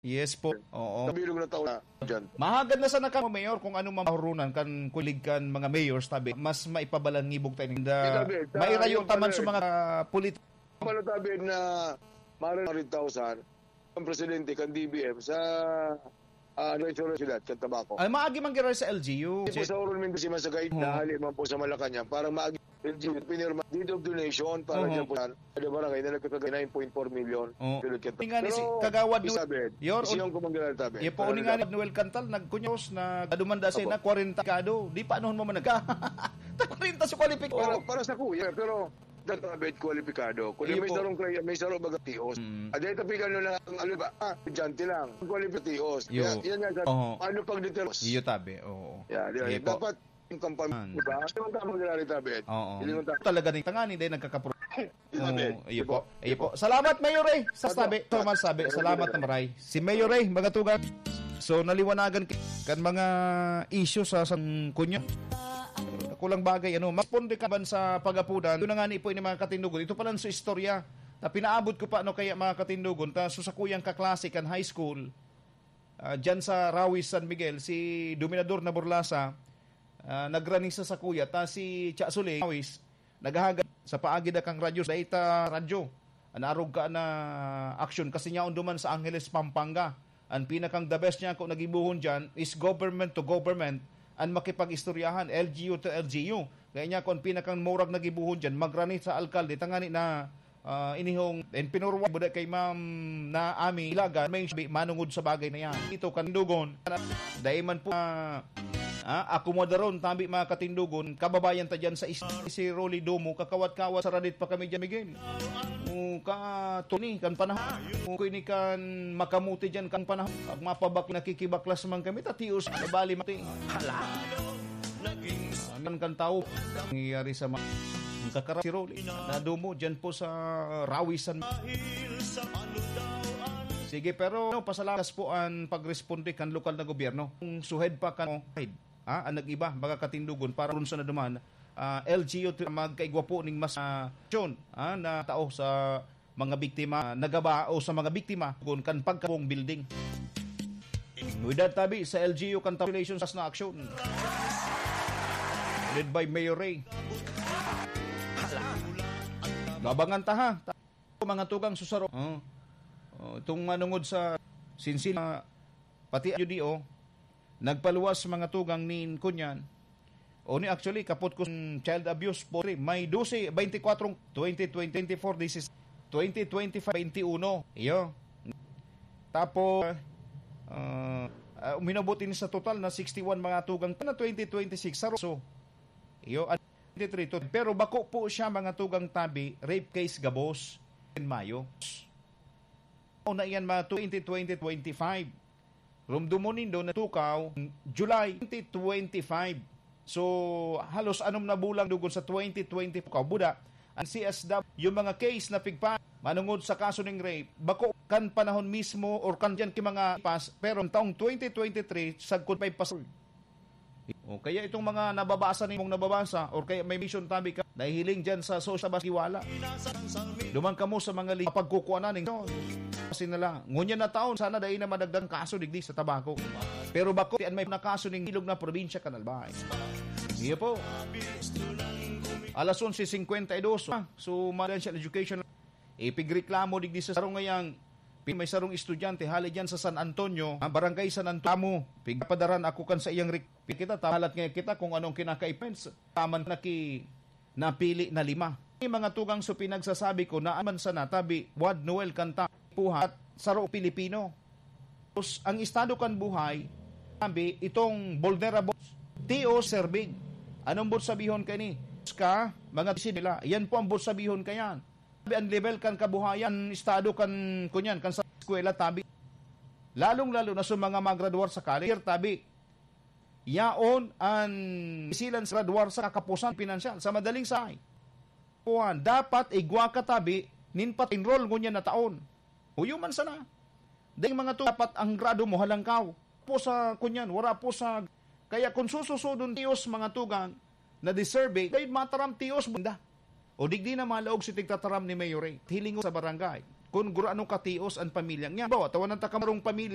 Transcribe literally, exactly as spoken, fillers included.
Yes po. Oo. Sa bilog na taon na dyan. Mahagad na sana kamo, Mayor, kung ano mamahurunan kan kulig kan mga mayors, tabi, mas maipabalangibog tayo ninda. Yes, tabi. Sa Mairayo yung taman pala sa eh. Mga, ah, polit- Pala tabi na maaaring one hundred thousand ang presidente kan D B M sa, ah, ano, insurance sila, sa tabako. Ay, maagi man gira sa L G U. Hindi po sa Oron Mindoro, si Masagay, Oo. nahali man po sa Malacanang. Parang maagi, L G U, pinirma, deed of donation, para Oo. dyan po sa, sa barangay na nagkakagay nine point four million. Oo. Pero, Tingnan ni si Pero, Kagawad Du-, Isabel, Yor, siyang kumanggalal tabi. Iyo po, Pero, uning nga ni Noel Cantal, nagkunyos na dumanda siya Apo. na kwarenta kado. Di pa, anuhon mo man nagka? Ta kwarenta sa kwalipik. Para, para sa kuya, pero dapat kwalipikado. Kung Iyo may po. sarong kaya, may sarong baga tios. Mm. At dahil tapigan nyo lang ang, ano ba, ah, estudyante lang. Kwalipikado tios. Iyo. Kaya, yan nga, sa, Oho. paano pag details? Iyo tabi, oo. Yeah, di ba? Iyo po. Dapat yung kampanya, Yan. di ba? Hindi naman tama ginagawa tabi. Oo. Hindi naman tama. Talaga rin tangani, dahil nagkakapro-, Tabi. Oo, iyo Di po. ba? Iyo po. Salamat, Mayor Ray. Sa Opo. tabi, Thomas sabi. Opo. Salamat na maray. Si Mayor Ray, magatugan. So, naliwanagan ki-, kan mga isyu sa sangkunya. Kulang bagay, ano, mas ponde ka ban sa pag-apudan. Yun na nga ni po yung mga katindugon. Ito pala sa istorya. Ta pinaabot ko pa, no, kaya mga katindugon. Ta, so, sa kuyang kaklase kan high school, ah, dyan sa Rawis, San Miguel, si Dominador na Burlasa, ah, nagrani sa sakuya. Ta si Cha Sule, Rawis, naghahagad sa paagi da kang radyo, sa ita radyo. An arog ka na aksyon, kasi niya duman sa Angeles, Pampanga. An pinakang the best niya kung nagibuhon dyan is government to government, an makipag-istoryahan, L G U to L G U. Kaya niya kung pinakang murag nagibuhon dyan, magrani sa alkalde, tangani na, ah, inihong, and pinurwa, buda kay Ma'am na Ami, Ilagan, may sabi, manungod sa bagay na yan. Ito, katindugon, dahil man po, ah, ah, akomodaron, tabi mga katindugon, kababayan ta dyan sa is-, si Rolly Domo, kakawat-kawat sa radit pa kami dyan, Miguel. O ka, Tony, kan panahon. O ko ini kan makamuti dyan, kan panahon. Pag mapabak-, nakikibaklas man kami, tatios, nabali mati. Hala. Amin kan tao. Nangyayari sa mga kakara-, si Rolly. Nadumo dyan po sa Rawisan. Sige, pero, no, pasalamat po an pagresponde kan lokal na gobyerno. Kung suhed pa kan, ha, ang nag-iba, mga katindugon, para ron sa naduman, ah, L G U to magkaigwa po ning mas, ah, aksyon, ah, na tao sa mga biktima, nagaba o sa mga biktima, kun kan pagkabong building. With that, tabi, sa L G U, congratulations sa na aksyon. Led by Mayor Ray. Labangan ta, ha? Mga tugang susaro. Oh. Oh, itong manungod sa sinsin, ah, pati ayo di, oh. Nagpaluwas mga tugang nin kunyan. O ni, actually, kapot ko sa child abuse po, may dose, twenty-four, twenty twenty-four, this is twenty twenty-five, twenty-one. Iyo. Tapos, ah, ah, uminabot ini sa total na sixty-one mga tugang na twenty twenty-six sa Roso. Iyo, at twenty-three to. Pero bako po siya mga tugang tabi, rape case gabos in Mayo. O na iyan mga twenty twenty, twenty-five. Rumdumon nindo na tukaw, July twenty twenty-five. So, halos anom na bulan dugon sa twenty twenty tukaw. Buda, ang C S W, yung mga case na pigpa, manungod sa kaso ning rape, bako kan panahon mismo or kan dyan ki mga pas, pero ang taong twenty twenty-three, sagkod pa ipas-, O kaya itong mga nababasa nimong nababasa, or kaya may mission tabi ka, nahihiling dyan sa social bas-, iwala. Duman kamo sa mga li-, pagkukuanan ning kasi nila. Ngunyan na taon, sana dai na madagdag kaso digdi sa tabako. Pero bako, tiyan may nakaso ning ilog na probinsya kan Albay. Iyo po. Alas onse cincuenta y dos, ah. So, financial education. Ipigreklamo digdi sa sarong ngayang pi-, may sarong estudyante hali dyan sa San Antonio, ah, Barangay San Antonio. Pigpadaran ako kan sa iyang rek-, kita, tahalat nga kita kung anong kinakaipen sa taman na ki-, napili na lima. Yung mga tugang so pinagsasabi ko na man sana tabi, Wad Noel Canta, puhat, saro Pilipino. Tapos, ang estado kan buhay, sabi, itong vulnerable, T O serving. Anong bot sabihon ka ni? Ka, mga nila. Yan po ang bot sabihon ka yan. Sabi, ang level kan kabuhayan, estado kan, kunyan, kan sa eskwela, tabi. Lalong-lalo na sa mga magraduar sa college, tabi. Yaon an silan sa graduar sa kakapusan pinansyal. Sa madaling sahay, kuwan, dapat igwa ka tabi nin pat-enroll ngunyan na taon. Huyo man sana. Dahil mga to, dapat ang grado mo halangkaw. Po sa, kunyan, wala po sa, kaya kung sususudon tios mga tugang na deserving, dahil mataram tios bunda. O digdi na malaog si tigtataram ni Mayor Ray. Hilingo sa barangay. Kung gurano ka tios ang pamilya niya. Bawa, tawanan ta kamarong pamilya.